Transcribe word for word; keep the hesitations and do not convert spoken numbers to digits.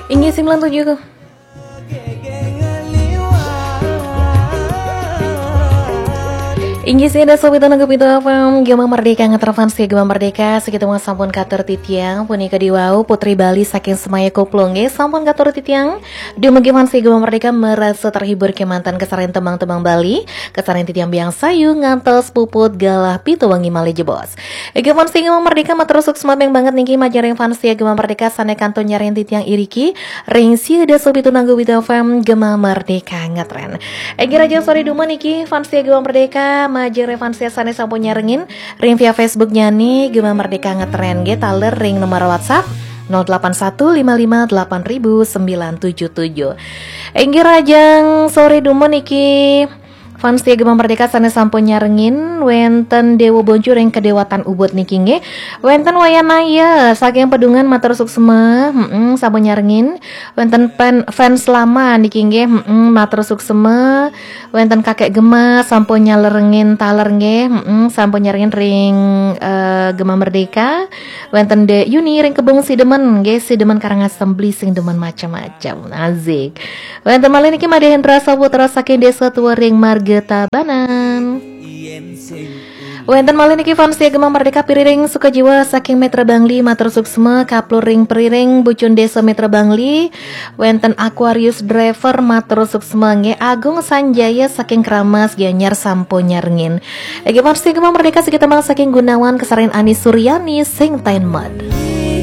Inggih sembilan tujuh. Inggih sih ada sobat nunggu pintu F M Gema Merdeka ngeterfans ya Gema Merdeka. Segitu mau sampun katur titiang punika diwau Putri Bali saking Semaya Kuplung ya. Sampun katur titiang. Dumugi fans Gema Merdeka merasa terhibur kemanten kesarian tembang-tembang Bali, kesarian titiang biang sayu ngantos puput galah pitu wengi malih jebos. Gema fans Gema Merdeka matur suksma banget niki majeng ring fans Gema Merdeka sane kantun nyariin titiang iriki ring sia dasa pitu nanggu Wita F M Gema Merdeka ngetren. Inggih raja sore dumun niki fans Gema Merdeka majeng ring fans sane sampun nyarengin ring via Facebook nyane Gema Merdeka ngetren nggih taler ring nomor WhatsApp nol delapan satu lima lima delapan ribu sembilan tujuh tujuh. Inggih raja sore dumun niki fans setia Gema Merdeka sane sampun nyarengin, wenten Dewa Boncu ring Kedewatan Ubud niki nggih. Wenten Wayan Naya saking Pedungan matur suksma, heeh, sampun nyarengin. Wenten pen, fans lama niki nggih, heeh, matur suksma. Wenten Kakek Gema sampun nyarengin taler nggih, heeh, sampun nyarengin ring eh, Gema Merdeka. Wenten Dek Yuni ring Kebung Sidemen nggih, Sidemen Karangasem beli sing demen macam-macam. Asik. Wenten malih niki Made Hendra Saputra saking Desa Tua ring Marga Tabanan. Wenten malih niki fans setia Gema Merdeka Piriring Sukajiwa saking Metra Bangli matur suksma, kaplur ring Piriring Bucun Desa Metra Bangli. Wenten Aquarius Driver matur suksma nggih, Agung Sanjaya saking Kramas Gianyar sampun nyarengin. Nggih fans setia Gema Merdeka segitu mang saking Gunawan kesarian Ani Suryani sing taen mod.